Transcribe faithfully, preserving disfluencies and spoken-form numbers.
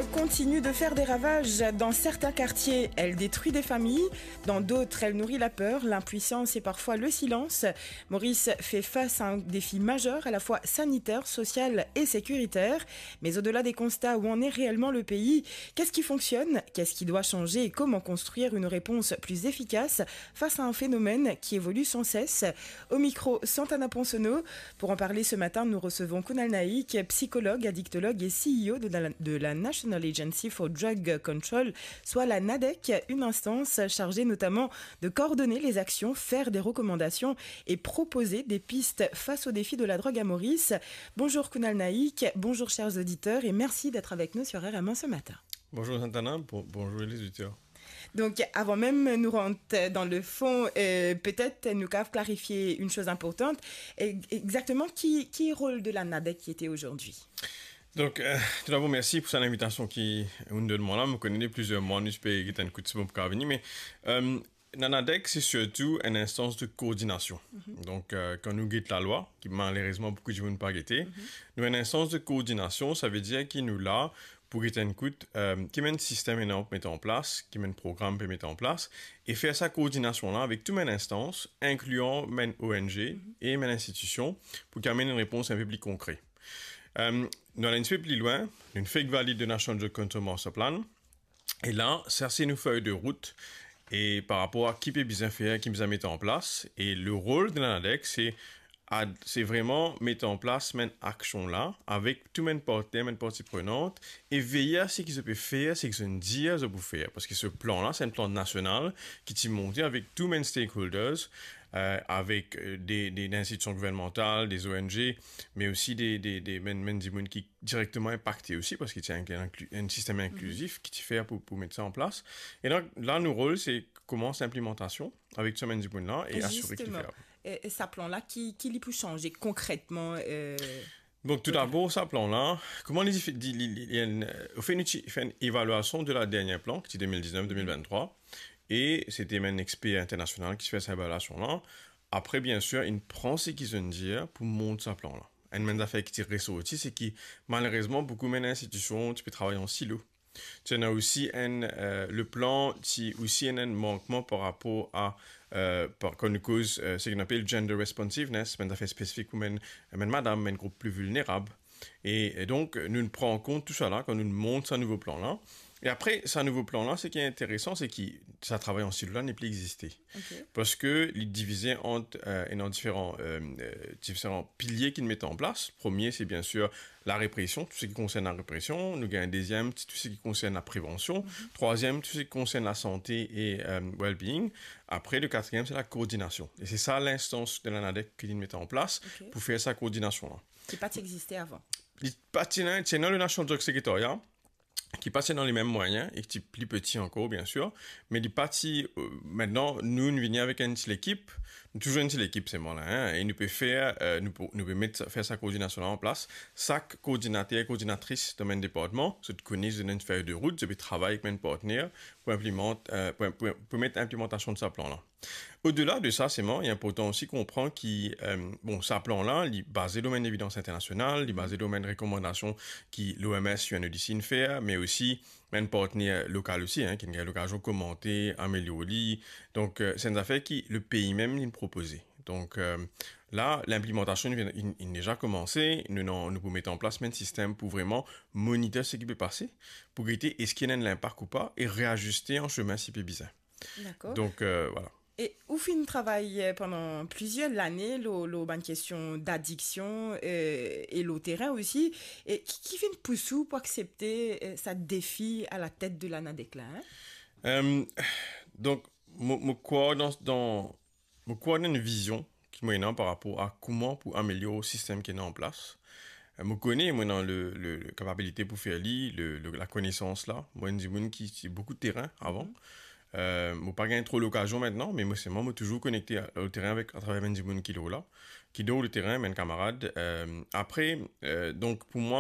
Continue de faire des ravages dans certains quartiers. Elle détruit des familles, dans d'autres, elle nourrit la peur, l'impuissance et parfois le silence. Maurice fait face à un défi majeur, à la fois sanitaire, social et sécuritaire. Mais au-delà des constats, où en est réellement le pays ? Qu'est-ce qui fonctionne ? Qu'est-ce qui doit changer ? Et comment construire une réponse plus efficace face à un phénomène qui évolue sans cesse ? Au micro, Santana Ponsonneau. Pour en parler ce matin, nous recevons Kunal Naik, psychologue, addictologue et C E O de la, de la National Agency for Drug Control, soit la NADEC, une instance chargée notamment de coordonner les actions, faire des recommandations et proposer des pistes face au défi de la drogue à Maurice. Bonjour Kunal Naik, bonjour chers auditeurs et merci d'être avec nous sur R M un ce matin. Bonjour Santana, bon- bonjour les auditeurs. Donc, avant même nous rentrer dans le fond, euh, peut-être nous pouvons clarifier une chose importante. E- Exactement, qui, qui est le rôle de la NADEC qui était aujourd'hui ? Donc, euh, tout d'abord, merci pour cette invitation qui nous donne là. Je connais plusieurs mois, nous espérons que tu as un coup de bon pour venir, mais euh, la NADEC, c'est surtout une instance de coordination. Donc, euh, quand nous guette la loi, qui malheureusement beaucoup de gens n'ont pas guetté, nous, une instance de coordination, ça veut dire qu'il nous là pour get enn kout, euh, ki bann sistem ena pou met an plas, ki bann program pou met an plas, e fer sa koordinasion la avek tou bann instans, inklian bann O N G e bann institision, pou ki amenn enn repons inpe pli konkre. Euh, nou al enn tipe pli lwin, nou fek valid de National Drug Control Master Plan, e la, sa se nou fey de rout, e par rapor a ki pe bizin fer, ki bizin met an plas, e le rol de la NADEC, se ad-, se vreman met an plas bann aksion la avek tou bann partner, bann parti prenant, e veye a seki zot pe fer, seki zot dir zot pou fer, parski se plan la, se enn plan nasional ki ti monte avek tou bann stakeholders, euh, avek, euh, de, de, de institision gouvernmantal, de O N G, me osi de, de, de bann, bann dimoun ki direkteman inpakte osi, parski se enn, enn, enn sistem inklizif ki ti fer pou, pou met sa an plas. E donk, la, nou rol, se koumans linplimantasion avek tou sa bann dimoun la e asire ki li fer. E, e sa plan la, ki, ki li pou sanze konkretman, euh, Donk, tou dabor, sa plan la, kouma li, li, li, li, li, euh, anfin, nou ti fer enn evalyasion de la dernie plan, ki ti de mil diznef, de mil venntrwa, e se te bann exper internasional ki ti fer sa evalyasion la. Apre, biensir, inn pran seki zot inn dir pou mont sa plan la. Enn bann zafer ki ti resorti, se ki, malerezman, boukou bann institision ti pe travay an silo. Ti ena osi enn, euh, le plan ti osi ena enn mankman par rapor a, euh, par, kan nou koz, euh, seki nou apel gender responsiveness, bann zafer spesifik pou bann, bann madam, bann group pli vilnerab. E, e donk, nou pran an kont tou sa la kan nou mont sa nouvo plan la. E apre, sa nouvo plan la, seki interesan, se ki sa travay an silo la nepli existe. Ok. Parski li divize ant, euh, ena diferan, euh, euh, diferan pilie ki met an plas. Premie, se biensir la represion, tou seki konsern la represion. Nou gagn deziem, tou seki konsern la prevansion. Mhm. Trwaziem, tou seki konsern la sante e, euh, well-being. Apre, le katriem, se la koordinasion. E se sa linstans de la NADEC ki li met an plas, ok, pou fer sa koordinasion la. Ki pa ti existe avan. Li pa ti ena, ti ena le National Drug Secretariat, ki pa ti ena lemem mwayin e ki ti pli peti ankor, biensir, me li pa ti, euh, mintnan, nou, nou vini avek enn ti lekip, nou touzour enn ti lekip selman la, hein, e nou pe fer, euh, nou pou, nou pe met, fer sa koordinasion la an plas. Sak koordinater, koordinatris dan bann departman, zot kone, zot ena enn fey de rout, zot pe travay avek bann partner pou inplimant, euh, pou, pou, pou met inplimantasion de sa plan la. Odela de sa, selman, li inportan osi konpran ki, euh, bon, sa plan la, li baze lor bann evidans internasional, li baze lor bann rekomandasion ki l'O M S, U N O D C inn fer, me osi bann partner lokal osi, hein, ki inn gagn lokazion komante, amelior li. Donk, euh, se enn zafer ki lepei mem inn propoze. Donk, euh, la, linplimantasion inn, inn, inn deza koumanse, nou, nou, nou pou met an plas bann sistem pou vreman monitor seki pe pase, pou gete eski ena enn linpak ou pa, e reaziste an semin si pe bizin. Dakor. Donk, euh, vwala. E ou finn travay, euh, pandan plizier lane lor, lor bann kestion d'adiksion, euh, e lor terin osi. E ki, ki finn pous ou pou aksepte, euh, sa defi a la tet de la NADEC la, hein ? Euh, donk, mo, mo krwar dan, dan, mo krwar dan enn vizion ki mo ena par rapor a kouma pou amelior sistem ki ena an plas. Euh, mo kone mo ena le, le, le kapabilite pou fer li, le, le, lakonesans la. Mo enn dimoun ki ti boukou terin avan. Mhm. Euh, mo pa gagn tro lokazion mintnan, me mo selman, mo touzour konekte a, o terin avek, atraver bann dimoun ki lor la, ki lor le terin, bann kamarad. Euh, apre, euh, donk pou mwa,